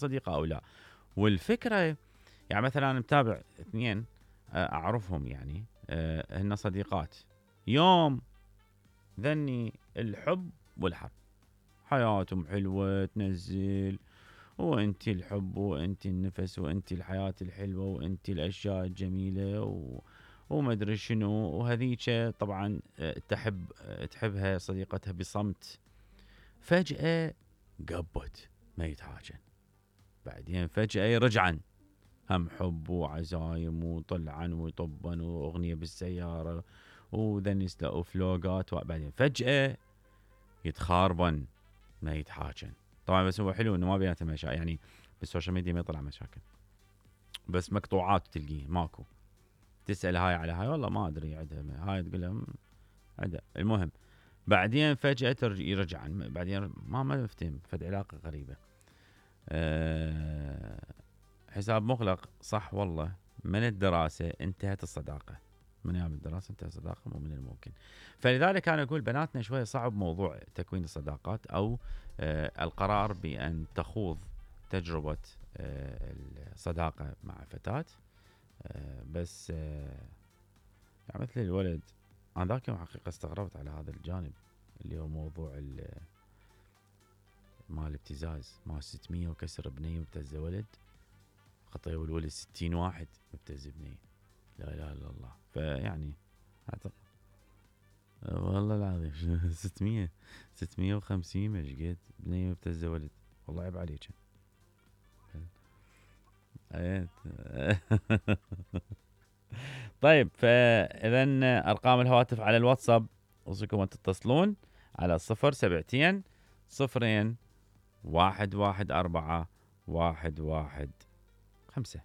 صديقه او لا. والفكره يعني مثلا انا متابع اثنين اعرفهم يعني هن صديقات، يوم ذني الحب والحرب، حياتهم حلوه تنزل وانتي الحب وانتي النفس وانتي الحياه الحلوه وانتي الاشياء الجميله وما ادري شنو، وهذيك طبعا تحبها صديقتها بصمت، فجاه قبت ما يتحاجن، بعدين فجاه يرجعن هم حب وعزايم وطلعن ويطبن واغنيه بالسياره وذن يسلقوا فلوقات، وبعدين فجاه يتخاربن ما يتحاجن. طبعا بس هو حلو انه ما بيناتهم مشاكل، يعني بالسوشيال ميديا ما يطلع مشاكل، بس مقطوعات تلقيه ماكو. تسال هاي على هاي والله ما ادري عندها، هاي تقول لهم عندها، المهم بعدين فجاه يرجعن، بعدين ما مفتهم، فد علاقه غريبه. حساب مغلق صح والله، من الدراسه انتهت الصداقه، من ايام الدراسه انتهت الصداقه، مو من الممكن. فلذلك انا اقول بناتنا شويه صعب موضوع تكوين الصداقات او القرار بان تخوض تجربه الصداقه مع فتاه. بس يعني مثل الولد، انا ذاك يوم حقيقه استغربت على هذا الجانب اللي هو موضوع مال الابتزاز، مال 600 وكسر بنيه وابتز ولد، خطيوا الولد 60 واحد مبتز بنيه، لا اله الا الله. فيعني اعتقد والله العظيم 650 مش قد بنيه مبتز ولد، والله عيب عليك. طيب فاذا ارقام الهواتف على الواتساب اوصيكم ان تتصلون على 072 0 114 115.